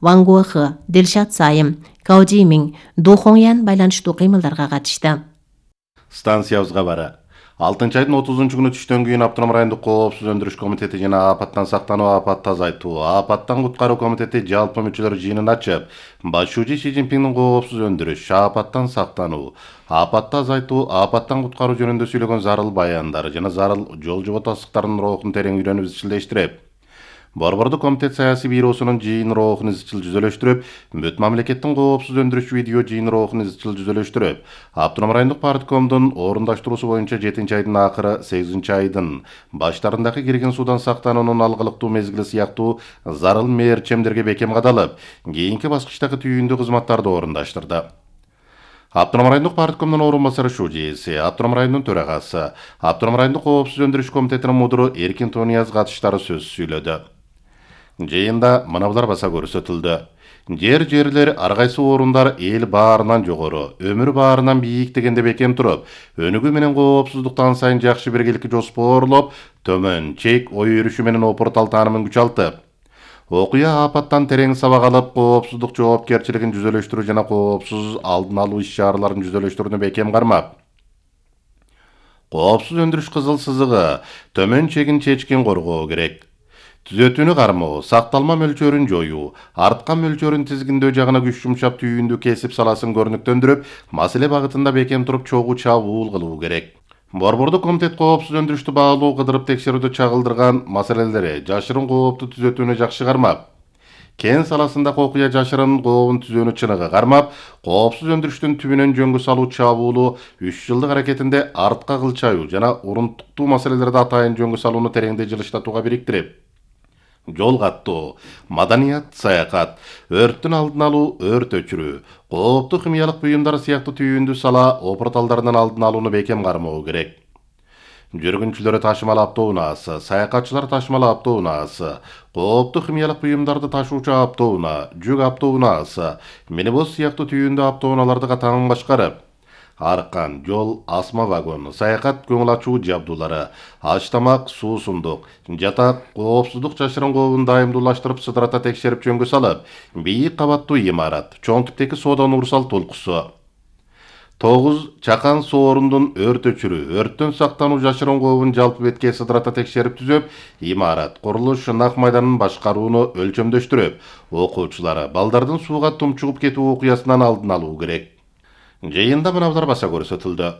Ван Гуохы, Дилшат Сайым, Као Жимин, Ду Хоңян байланыштуу кыймылдарга катышты. Станциябызга бара. 6-айдын 30-күнү түштөн кийин Автоном райондук коопсуз өндүрүш комитети жана апаттан сактануу, апатты азайтуу, апаттан куткаруу комитети жалпы мүчөлөр жыйынын ачып, башчы Си Цзиньпиндин коопсуз өндүрүш, апаттан сактануу, апатты азайтуу, апаттан куткаруу жөнүндө сүйлөгөн зарыл баяндары жана зарыл жол жоботасыктардын рухун терең үйрөнүп изчилдештирип, Борбордук комитет саясий бюросунун жыйын рухун изчил жүзөлөштүрүп, бүт мамлекеттин коопсуз өндүрүш видео жыйын рухун изчил жүзөлөштүрүп, Автоном райондук парткомдун орундаштыруусу боюнча 7-айдын акыры 8-айдын баштарындагы кирген суудан сактануунун алгылыктуу мезгили сыяктуу зарыл мээрчемдерге бекем кадалып, кийинки баскычтагы түйүндүү кызматтарды орундаштырды. Автоном райондук парткомдун орун басары Шужиси, Автоном районунун төрагасы, Автоном райондук коопсуз өндүрүш комитетинин мудуру Эркин Тонияз катыштары сөз сүйлөдү. Жыйында мынабулар баса көрсөтүлдү. Жерлер ар кайсы орундар эл баарынан жогору, өмүр баарынан бийик дегенде бекем туруп, өнүгүү менен коопсуздуктан сайын жакшы биргеликке жоспоорлоп, төмөн чек ой өрүшү менен опуртал таанымын күчалтып, окуя апаттан терең сабак алып, коопсуздук жоопкерчилигин жүзөлөштүрүү жана коопсуз алдын алуу иш-чараларын жүзөлөштүрүүнү бекем кармап, коопсуз өндүрүш кызыл сызыгы, төмөн чегин чечкин коргоо керек. Түзөтүүнү кармоо, сакталма мөлчөрүн жоюу, арткан мөлчөрүн тизгиндөө жагына күч жумшап түйүндү кесип саласын көрүнүктөндүрүп, маселе багытында бекем туруп чогуу чабуул кылуу керек. Борбордук комитет коопсуз өндүрүштү баалуу кыдырып текшерүүдө чагылдырган маселелери жашырын коопту түзөтүүнү жакшы кармап, кен саласындагы окуя жашырын кообун түзөөнү чыныгы кармап, коопсуз өндүрүштүн түбүнөн жөнгө салуу чабуулу 3 жылдык аракетинде артка кылчайуу жана урунтуктуу маселелерди атайын жөнгө салууну тереңдей жылыштатууга бириктирип, жол каттоо, маданият, саякат, өрттүн алдын алуу, өрт өчүрүү, кооптуу химиялык буюмдар сыяктуу түйүндүү сала опурталдарынын алдын алууну бекем кармоо керек. Жүргүнчүлөр ташымал автоунаасы, саякатчылар ташымал автоунаасы, кооптуу химиялык буюмдарды ташуучу автоунаа, жүк автоунаасы, минибус сыяктуу түйүндүү автоунааларды катаң башкарып, аркан, жол, асма вагон, саякат көңүл ачуу жабдуулары, аш тамак, суусундук, жатак, коопсуздук жашырын кообун дайымдуулаштырып сыдырата текшерип жөнгө салып, бийик кабаттуу имарат, чоң типтеги соода Нурсал толкусу. 9. Чакан соорундун өрт өчүрүү, өрттөн сактануу жашырын кообун жалпы бетке сыдырата текшерип түзөп, имарат, курулуш, нак майданын башкарууну өлчөмдөштүрүп, окуучулар, балдардын сууга тумчугуп кетүү окуясынан алдын алуу керек. Жыйында мынабулар баса көрсөтүлдү.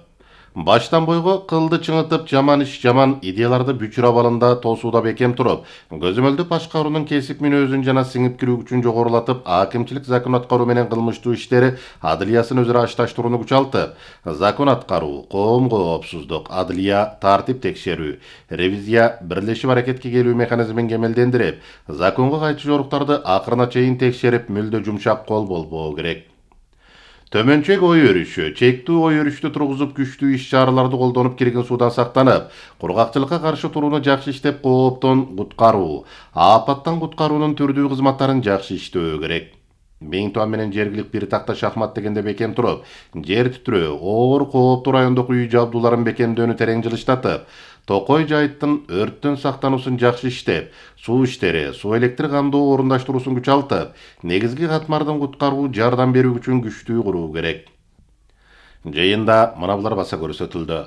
Баштан бойго кылды чыңытып, жаман иш, жаман идеяларды бүчүр абалында тосууда бекем туруп, көзөмөлдү башкаруунун кесип мүнөзүн жана сиңип кирүү күчүн жогорулатып, акимчилик закон аткаруу менен кылмыштуу иштери адылиясын өзүрө ашташтырууну күчалтып, закон аткаруу, коом коопсуздук, адылия, тартип текшерүү, ревизия, бирлешип аракетке келүү механизмин кемелдендирип, законго кайчы жоруктарды акырына чейин текшерип, мүлдө жумшак кол болбоо керек. Төмөнчек ой өрүшү, чектүү ой өрүштү тургузуп, күчтүү иш-чараларды колдонуп кирген суудан сактанып, кургакчылыкка каршы турууну жакшы иштеп, кооптон куткаруу, апаттан куткаруунун түрдүү кызматтарын жакшы иштөө керек. Миң туан менен жергилик бир такта шахмат дегенде бекем туруп, жер титирөө, оор кооптуу райондук үй жабдууларын бекемдөөнү терең жылыштатып, Токой жайыттын өрттөн сактануусун жакшы иштеп, суу иштери, суу электр камдоо орундаштыруусун күчалтып, негизги катмардын куткаруу жардам берүү үчүн күчтүү куруу керек. Жыйында мынабулар баса көрсөтүлдү.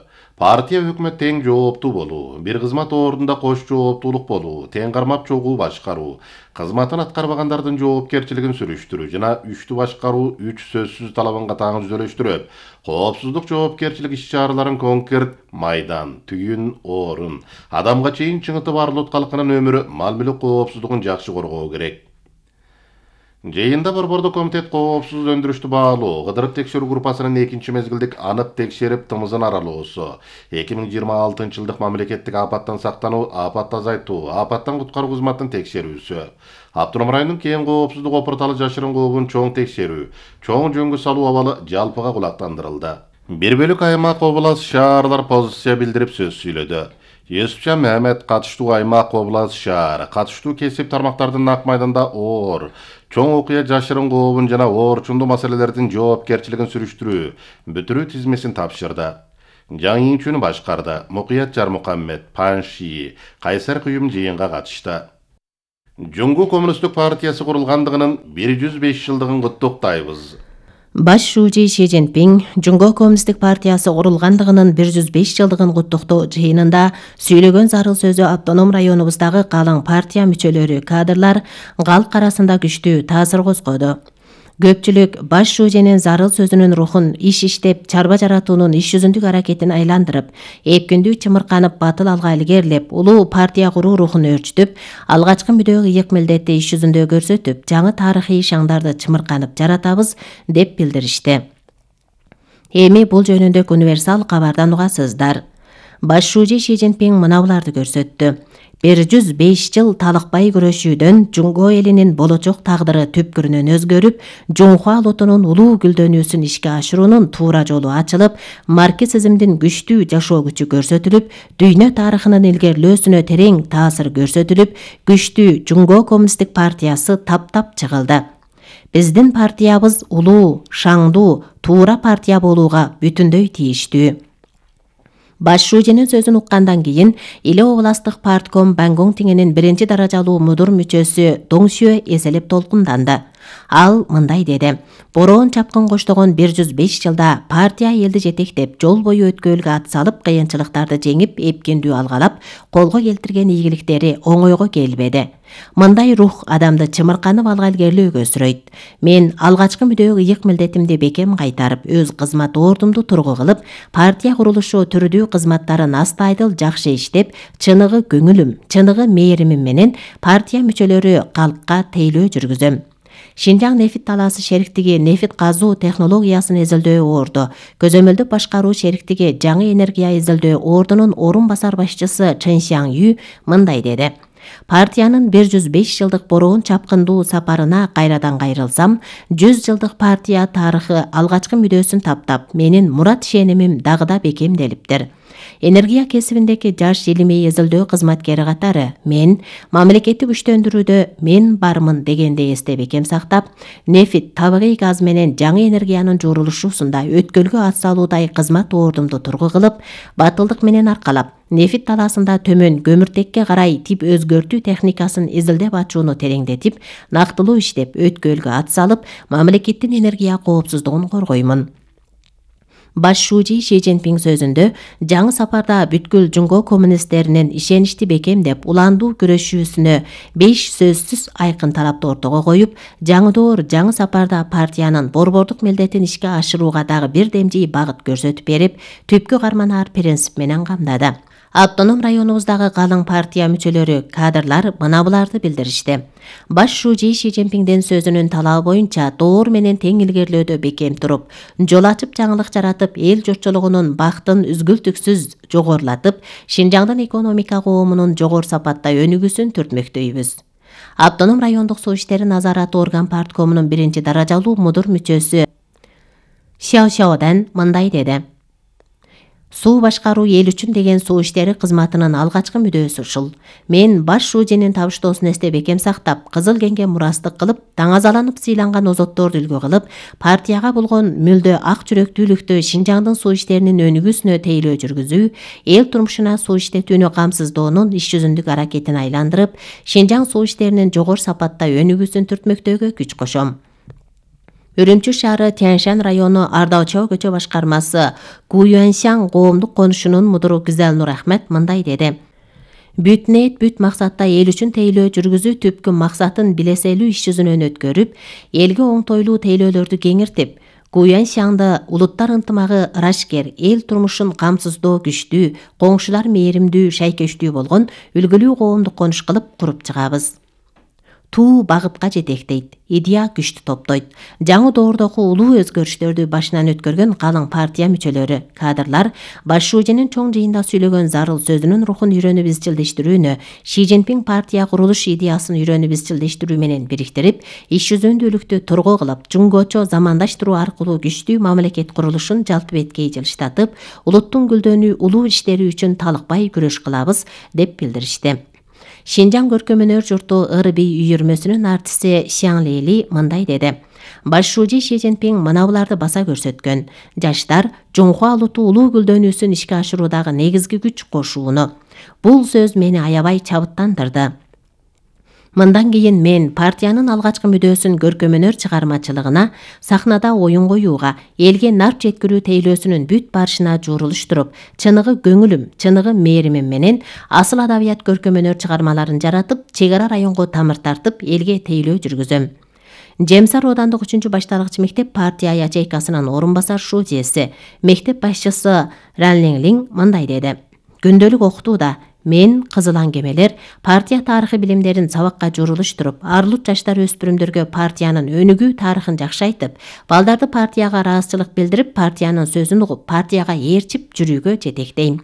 Партия өкмөт тең жооптуу болуу, бир кызмат ордунда кош жооптуулук болуу, тең кармап чогуу башкаруу, кызматын аткарбагандардын жоопкерчилигин сүрүштүрүү жана үчтүү башкаруу 3 сөзсүз талабын катаң жүзөлөштүрүп, коопсуздук жоопкерчилик иш-чараларын конкрет майдан, түйүн, орун, адамга чейин чыңытып арлут калкынын өмүрү, мал-мүлүк коопсуздугун жакшы коргоо керек. Жыйында Борбордук комитет коопсуз өндүрүштү баалуу, кыдырып текшерүү группасынын 2 мезгилдик анып текшерип тымызын аралоосу, 2026 жылдык мамлекеттик апаттан сактануу, апатты азайтуу, апаттан куткаруу кызматын текшерүүсү, Автоном районунун кен коопсуздук опурталы жашырын кообун чоң текшерүү, чоң жөнгө салуу абалы жалпыга кулактандырылды. Бир бөлүк аймак, область, шаарлар позиция билдирип сөз сүйлөдү. Юсупчан Мехмет катыштуу аймак, область, шаар, катыштуу кесип тармактардын нак майданда оор, чоң окуя жашырын кообун жана оорчундуу маселелердин жоопкерчилигин сүрүштүрүү, бүтүрүү тизмесин тапшырды. Жаңыйчүүнү башкарды. Мукуят Жармукаммет, Панши, Кайсар Күйүм жыйынга катышты. Жуңгу Коммунисттик партиясы курулгандыгынын 105 жылдыгын куттуктайбыз. Баш шүүжи Ши Цзиньпин Жуңго Коммунисттик партиясы курулгандыгынын 105 жылдыгын куттуктоо жыйынында сүйлөгөн зарыл сөзү автоном районубуздагы калың партия мүчөлөрү, кадрлар калк арасында күчтүү таасир козгоду. Көпчүлүк баш шүүженин зарыл сөзүнүн рухун иш иштеп, чарба жаратуунун иш жүзүндүк аракетин айландырып, эпкиндүү чымырканып батыл алга илгерилеп, улуу партия куруу рухун өөрчүтүп, алгачкы мүдөө ыйык милдетти иш жүзүндө көрсөтүп, жаңы тарыхый шаңдарды чымырканып жаратабыз деп билдиришти. Эми бул жөнүндө универсал кабардан угасыздар. Баш шүүжи Ши Цзиньпин мына буларды көрсөттү. 105 жыл талыкпай күрөшүүдөн Жуңго элинин болочок тагдыры түпкүрүнөн өзгөрүп, Жунхуа улутунун улуу гүлдөнүүсүн ишке ашыруунун туура жолу ачылып, марксизмдин күчтүү жашоо күчү көрсөтүлүп, дүйнө тарыхынын илгерилөөсүнө терең таасир көрсөтүлүп, күчтүү Жуңго Коммунисттик партиясы таптап чыгылды. Биздин партиябыз улуу, шаңдуу, туура партия болууга бүтүндөй тийиштүү. Баш шүүженин сөзүн уккандан кийин Иле областык партком Бангон Тиңенин 1 даражалуу мудур мүчөсү Доңсюэ эселеп толкунданды. Ал мындай деди: бороон чапкын коштогон 105 жылда партия элди жетектеп, жол бою өткөөлгө ат салып, кыйынчылыктарды жеңип, эпкиндүү алгалап, колго келтирген ийгиликтери оңойго келбеди. Мындай рух адамды чымырканып алга илгерилөөгө өсүрөйт. Мен алгачкы мүдөө ыйык милдетимди бекем кайтарып, өз кызмат ордумду тургу кылып, партия курулушу түрдүү кызматтарын астайдыл жакшы иштеп, чыныгы көңүлүм, чыныгы мээримим менен партия мүчөлөрү калкка тейлөө жүргүзөм. Шинжаң нефит талаасы шериктиги нефит казуу технологиясын изилдөө орду, көзөмөлдүк башкаруу шериктиги жаңы энергия изилдөө ордунун орун басар башчысы Чен Сяң Ю мындай деди: партиянын 105 жылдык бороон чапкындуу сапарына кайрадан кайрылсам, 100 жылдык партия тарыхы алгачкы мүдөөсүн таптап, менин мурат ишенимим дагы да бекемделиптир. Энергия кесибиндеги жаш илимий изилдөө кызматкери катары мен мамлекетти күчтөндүрүүдө мен бармын дегенди эсте бекем сактап, нефит, табигый газ менен жаңы энергиянын жуурулушусунда өткөлгө ат салуудай кызмат ордумду тургу кылып, батылдык менен аркалап, нефит талаасында төмөн көмүртекке карай тип өзгөртүү техникасын изилдеп ачууну тереңдетип, нактылуу иштеп, өткөлгө ат салып, мамлекеттин энергия коопсуздугун коргоймун. Баш шүүжи Ши Цзиньпин сөзүндө жаңы сапарда бүткүл Жуңго коммунисттеринин ишеничти бекемдеп, уландуу күрөшүүсүнө 5 сөзсүз айкын талапты ортого коюп, жаңыдоор жаңы сапарда партиянын борбордук милдетин ишке ашырууга дагы бир демжий багыт көрсөтүп берип, түпкү карманаар принцип менен камдады. Автоном районубуздагы калың партия мүчөлөрү, кадрлар мына буларды билдиришти. Баш шүүжи Ши Цзиньпиндин сөзүнүн талабы боюнча доор менен тең илгерилөөдө бекем туруп, жол ачып жаңылык жаратып, эл журтчулугунун бактын үзгүлтүксүз жогорулатып, Шинжаңдын экономика коомунун жогору сапатта өнүгүүсүн түртмөктөйбүз. Автоном райондук суу иштери назараты орган парткомунун 1 даражалуу мудур мүчөсү Сяо Сяодан мындай деди: суу башкаруу эл үчүн деген суу иштери кызматынын алгачкы мүдөөсү ушул. Мен баш шүүженин табыштоосун эсте бекем сактап, Кызыл кеңге мурастык кылып, таңазаланып сыйланган озотторду үлгү кылып, партияга болгон мүлдө ак жүрөктүүлүктү Шинжаңдын суу иштеринин өнүгүүсүнө тейлөө жүргүзүү, эл турмушуна суу иштетүүнү камсыздоонун иш жүзүндүк аракетин айландырып, Шинжаң суу иштеринин жогору сапатта өнүгүүсүн түртмөктөөгө күч кошом. Үрүмчү шаары Тяньшань району Ардаочо көчө башкармасы Гуюаньсяң коомдук конушунун мудуру Гүзел Нур Ахмет мындай деди: бүт ниет, бүт максатта эл үчүн тейлөө жүргүзүү түпкү максатын билеселүү иш жүзүнөн өткөрүп, элге оңтойлуу тейлөөлөрдү кеңиртип, Гуюаньсяңды улуттар ынтымагы ырашкер, эл турмушун камсыздоо күчтүү, коңшулар мээримдүү, шайкөчтүү болгон үлгүлүү коомдук конуш кылып куруп чыгабыз. Туу багытка жетектейт, идея күчтү топтойт. Жаңы доордогу улуу өзгөрүштөрдү башынан өткөргөн калың партия мүчөлөрү, кадрлар баш шүүженин чоң жыйында сүйлөгөн зарыл сөзүнүн рухун үйрөнүп изчилдештирүүнү, Ши Цзиньпин партия курулуш идеясын үйрөнүп изчилдештирүү менен бириктирип, иш жүзүндүүлүктү тургу кылып, жуңгочо замандаштыруу аркылуу күчтүү мамлекет курулушун жалпы беткей жылыштатып, улуттун гүлдөнүү, улуу иштери үчүн талыкпай күрөш кылабыз деп билдиришти. Шинжаң көркөмөнөр журту ырби үйүрмөсүнүн артисти Сяң Лили мындай деди: баш шүүжи Ши Цзиньпин мына буларды баса көрсөткөн. Жаштар Жунхуа улуту улуу гүлдөнүүсүн ишке ашыруудагы негизги күч кошууну. Бул сөз мени аябай чабыттандырды. Мындан кийин мен партиянын алгачкы мүдөөсүн көркөмөнөр чыгармачылыгына, сахнада оюн коюуга, элге нарп жеткирүү тейлөөсүнүн бүт барышына жуурулуштуруп, чыныгы көңүлүм, чыныгы мээримим менен асыл адабият көркөмөнөр чыгармаларын жаратып, чек ара районго тамыр тартып, элге тейлөө жүргүзөм. Жемсар оодандык 3-башталгыч мектеп партия ячейкасынын орун басар шужеси, мектеп башчысы Ранлинглин мындай деди: Күндөлүк окутууда мен кызыл аңгемелер партия тарыхы билимдерин сабакка журулуштуруп, арлут жаштар өспүрүмдөргө партиянын өнүгүү тарыхын жакшы айтып, балдарды партияга ыраазычылык билдирип, партиянын сөзүн угуп, партияга ээрчип жүрүүгө жетектейм.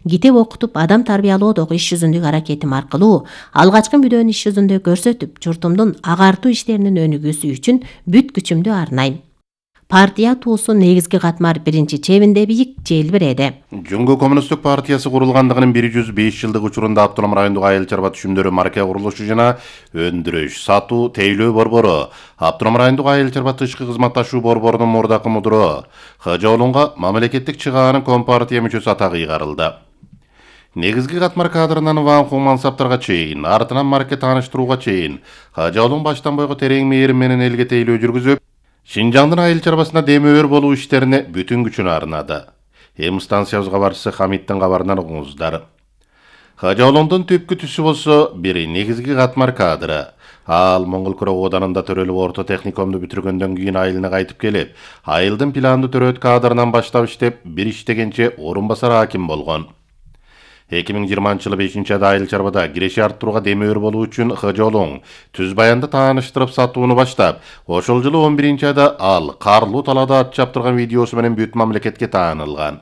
Китеп окутуп, адам тарбиялоодогу иш жүзүндөгү аракетим аркылуу алгачкы мүдөнү иш жүзүндө көрсөтүп, журтумдун агартуу иштеринин өнүгүүсү үчүн бүт күчүмдү арнайм. Партия туусу негизги катмар биринчи чебинде бийик желбиреди. Жөнгө коммунисттик партиясы курулгандыгынын 105 жылдык учурунда Автоном райондук айыл чарба түшүмдөрү марке курулушу жана өндүрүш, сатуу, тейлөө борбору, Автоном райондук айыл чарба тышкы кызматташуу борборунун мурдакы мудуру Хажаолунга мамлекеттик чыгаанын компартия мүчөсү атагы ыйгарылды. Негизги катмар кадрынан Ван Хун мансаптарга чейин, артынан марке тааныштырууга чейин Хажаолун баштан бойго терең мээрим менен элге тейлөө жүргүзүп, Шинжаңдын айыл чарбасына демөөр болуу иштерине бүтүн күчүн арнады. Эми станциябыз кабарчысы Хамиттин кабарынан угуңуздар. Хажаолундун түпкү түсү болсо бири негизги катмар кадры. Ал Моңгол Курок Оданында төрөлүп орто техникумду бүтүргөндөн кийин айылына кайтып келип, айылдын планды төрөт кадрынан баштап иштеп, бир иштегенче орун басар аким болгон. 2020-жылы 5-айда айыл чарбада киреше арттырууга демөөр болуу үчүн Хажаолун түз баянды тааныштырып сатууну баштап, ошол жылы 11-айда ал карлуу талаада ат чаптырган видеосу менен бүт мамлекетке таанылган.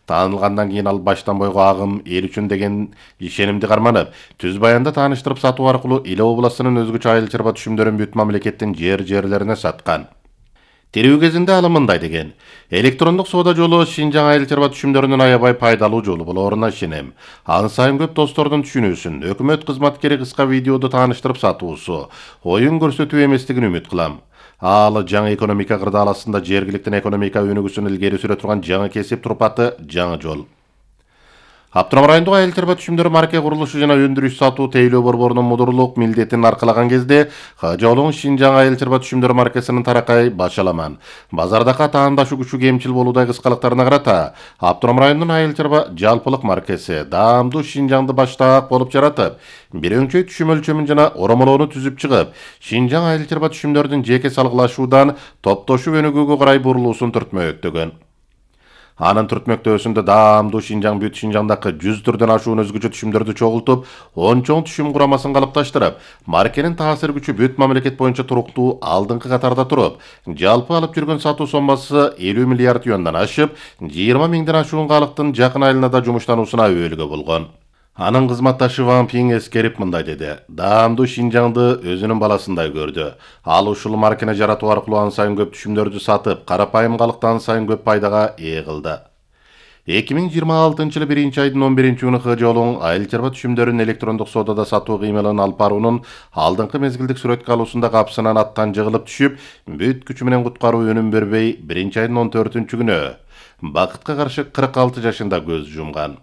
Таанылгандан кийин ал баштан бойго агым эл үчүн деген ишенимди карманып, түз баянды тааныштырып сатуу аркылуу Иле областынын өзгөчө айыл чарба түшүмдөрүн бүт мамлекеттин жерлерине саткан. Терүү кезинде ал мындай деген: электрондук соода жолу Шинжаң айыл чарба түшүмдөрүнүн аябай пайдалуу жолу болоруна ишенем. Аны сайын көп достордун түшүнүүсүн, өкмөт кызматкери кыска видеоду тааныштырып сатуусу, оюн көрсөтүү эместигин үмүт кылам. Ал жаңы экономика кырдааласында жергиликтин экономика өнүгүүсүн илгери сүрө турган жаңы кесип турпаты, жаңы жол. Автоном райондук айыл чарба түшүмдөрү марке курулушу жана өндүрүш сатуу тейлөө борборунун мудурлук милдетин аркалаган кезде Хажаолун Шинжаң айыл чарба түшүмдөрү маркасынын таракай башаламан, базардагы таандашуу күчү кемчил болуудай кыскалыктарына карата Автоном районунун айыл чарба жалпылык маркасы даамдуу Шинжаңды баштаак болуп жаратып, бир өңчөй түшүм өлчөмүн жана оромолоону түзүп чыгып, Шинжаң айыл чарба түшүмдөрдүн жеке салгылашуудан топтошуп өнүгүүгө карай бурулуусун түртмөктөгөн. Анын түртмөктөөсүндө даамдуу Шинжаң бүт Шинжаңдагы 100 түрдөн ашуун өзгөчө түшүмдөрдү чогултуп, 10 чоң түшүм курамасын калыпташтырып, маркенин таасир күчү бүт мамлекет боюнча туруктуу алдыңкы катарда туруп, жалпы алып жүргөн сатуу соммасы 50 миллиард юандан ашып, 20 миңден ашуун калктын жакын айларда жумуштануусуна өбөлгө болгон. Анын кызматташы Ван Пинг эскерип мындай деди: даамдуу Шинжаңды өзүнүн баласындай көрдү. Ал ушул маркени жаратуу аркылуу ан сайын көп түшүмдөрдү сатып, карапайым калкты ан сайын көп пайдага ээ кылды. 2026-жылы 1-айдын 11-күнү Хажаолун айыл чарба түшүмдөрүн электрондук соодада сатуу кыймылын алып баруунун алдыңкы мезгилдик сүрөткө алуусунда капсынан аттан жыгылып түшүп, бүт күчү менен куткаруу өнүм бербей, 1-айдын 14-күнү бакытка каршы 46 жашында көз жумган.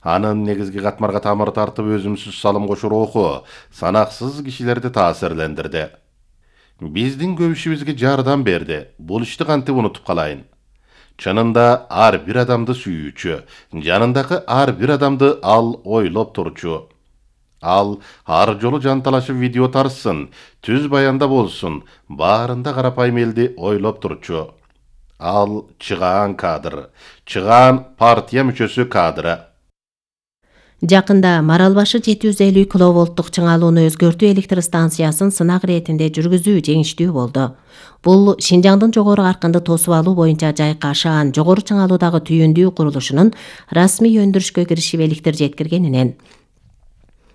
Анын негизги катмарга тамыр тартып өзүмсүз салым кошуу руху санаксыз кишилерди таасирлендирди. Биздин көп ишибизге жардам берди. Бул ишти кантип унутуп калайын? Чынында ар бир адамды сүйүүчү, жанындагы ар бир адамды ал ойлоп турчу. Ал ар жолу жанталашып видео тарсын, түз баянда болсун, баарында карапайым элди ойлоп турчу. Ал чыгаан кадр, чыгаан партия мүчөсү кадры. Жакында Маралбашы 750 киловолттук чыңалууну өзгөртүү электр станциясын сынак иретинде жүргүзүү жеңиштүү болду. Бул Шинжаңдын жогору каркынды тосуп алуу боюнча жайкы ашаан жогору чыңалуудагы түйүндүү курулушунун расмий өндүрүшкө киришип электр жеткиргенинен,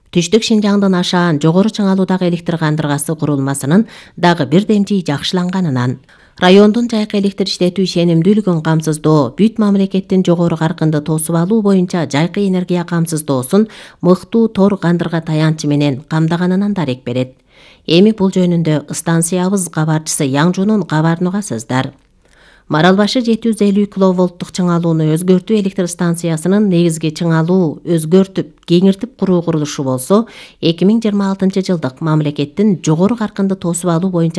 түштүк Шинжаңдын ашаан жогору чыңалуудагы электр кандыргасы курулмасынын дагы бир демчи жакшыланганынан, райондун жайкы электр иштетүү ишенимдүүлүгүн камсыздоо, бүт мамлекеттин жогору каркынды тосуп алуу боюнча жайкы энергия камсыздоосун мыктуу тор кандырга таянчы менен камдаганынан дарек берет. Эми бул жөнүндө станциябыз кабарчысы Яңжунун кабарын угасыздар. Марал башы 750 киловолттук чыңалууну өзгөртүү электр станциясынын негизги чыңалуу өзгөртүп, кеңиртип куруу курулушу болсо, 2026 жылдык мамлекеттин жогору каркынды тосуп алуу боюнча